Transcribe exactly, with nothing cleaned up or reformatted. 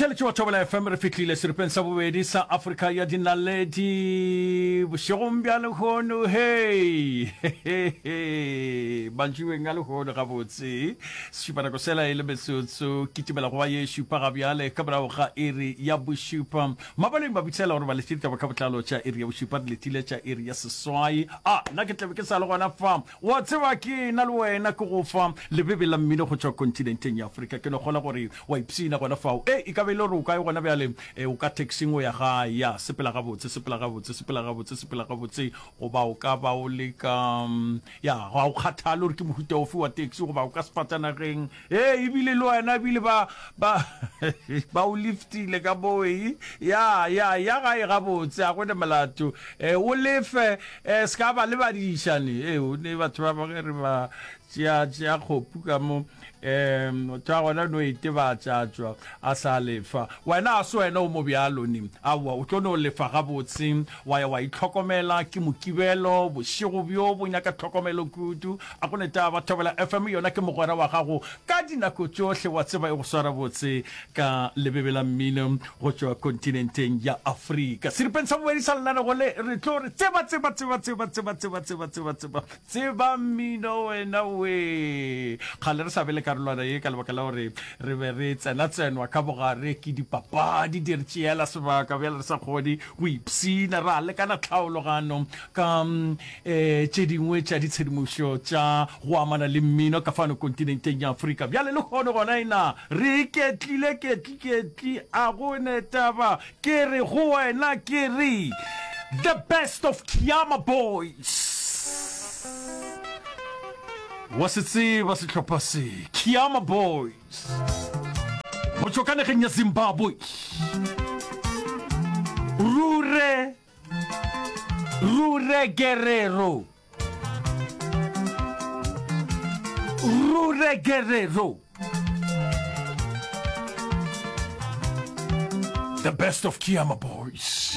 Motheeletši wa Thobela F M, re fihlile seripeng sa bobedi sa Afrika ya Dinaledi bošegong bja lehono. Hei, mantšiboeng a lehono gabotse, sešupanako sela e le metsotso kitimela go ba ye šupa ga bjale ka morago ga iri ya bošupa. Mabaleng ba bitsela gore ba letše ditaba ka botlalo tša iri ya bošupa, re letile tša iri ya seswai. A nna ke tlabe ke sa le gona fa, wa tseba ke na le wena ke go fa lebebe la mmino go tšwa kontinenteng ya Afrika. Ke no kgolwa gore wa ipshina gona fao. E, e ka be e le gore o kae gona bjale? E, o ka taxing o ya gae. Ya, sepela gabotse, sepela gabotse, sepela gabotse, sepela gabotse. Goba o ka ba o le ka, ya, ga o kgathale gore ke mohuta ofe wa taxi, goba o ka sefatanageng. E, ebile le wena, ebile ba, ba, ba o liftile ka moo. E, ya, ya, ya gae gabotse, a go ne molato. E, o lefe, e, se ka ba lebadiša ne. E, o ne batho ba bangwe re ba tšea, tšea kgopu ka mo. Um tšwa gona no itebatša tšwa a sa lefa. Wena a se wena o mo bjalo ne. Aowa, o tlo no lefa gabotse, wa ya wa itlhokomela. Ke Mokibelo, bošego bjo bo nyaka tlhokomelo kudu. A go ne taba, Thobela F M yona ke mogwera wa gago ka dinako tšohle, wa tseba e go swara botse ka lebebe la mmino go tšwa kontinenteng ya Afrika. Seripeng sa bobedi sa lenanego le re tlo re tseba, tseba, tseba, tseba, tseba, tseba, tseba, tseba, tseba, tseba mmino wena we. Kgale re sa be le karolwana ye ka lebaka la gore re be re tsena-tsenwa ka bogare ke dipapadi, di re tšeela sebaka, bjale re sa kgone go ipshina, ra lekana tlhaologano ka um tše dingwe tša ditshedimošo tša go amana le mmino ka fano kontinenteng ya Afrika. Bjale lehono gona ena re iketlile ketli-ketli, a go ne taba, ke re go wena ke re the best of Khiama Boys. Wa se tseba sehlopha se, Khiama Boys, go tšwa ka nageng ya Zimbabwe. Rure, Rure Guerrero, Rure Guerrero. The best of Khiama Boys.